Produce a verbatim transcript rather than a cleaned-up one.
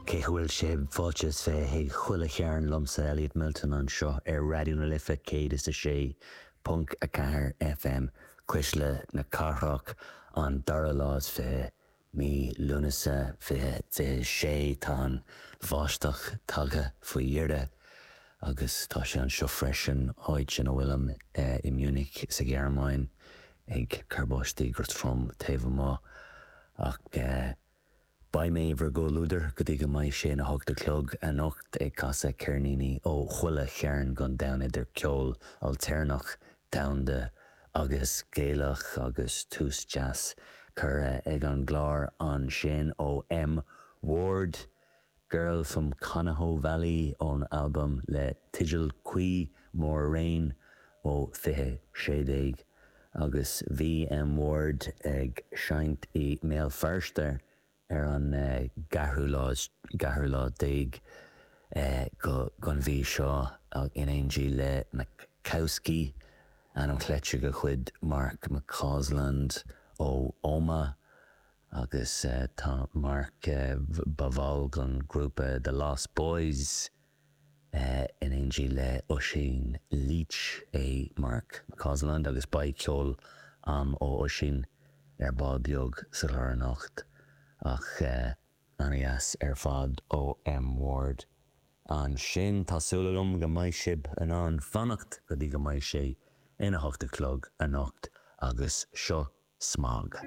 Cén chaoi a bhfuil sibh fáilte is fiche chuig Chuile Chearn liomsa Elliot Milton anseo ar Raidió na Life céad is a sé ponc a ceathair FM Cuisle na Cathrach an dara lá is fiche mí Lúnasa fiche fiche sé tá an bháisteach tagtha faoi dheireadh agus tá sé anseo freisin áit ina bhfuilim i Munich sa Ghearmáin ag cur báistí go trom taobh amuigh ach Beidh mé bhur gcomhluadar go dtí go mbeidh sé ina hocht a chlog anocht ag casadh ceirníní ó chuile chearn den domhan idir ceol ailtéarnach domhanda agus Gaelach agus tús deas curtha ag an gclár ansin ó M Ward Girl from Conoho Valley ón albam le teideal cuí More Rain ó fiche sé déag agus bhí M Ward ag seinnt i mBéal Feirste ar an gceathrú lá ceathrú lá déag go den mhí seo in éindí le Makowski ainm cleite de chuid Mark McCausland ó Omagh agus tá Mark ba bhall den grúpa The Lost Boys in éindí le Oisín Leach é Mark McCausland agus beidh ceol am ó Oisín ar ball beag sa chlár anocht ach an-deas ar fad ó M Ward. Ansin tá súil agam go mbeidh sibh in ann fanacht go dtí go mbeidh sé ina hocht a chlog anocht agus seo smog.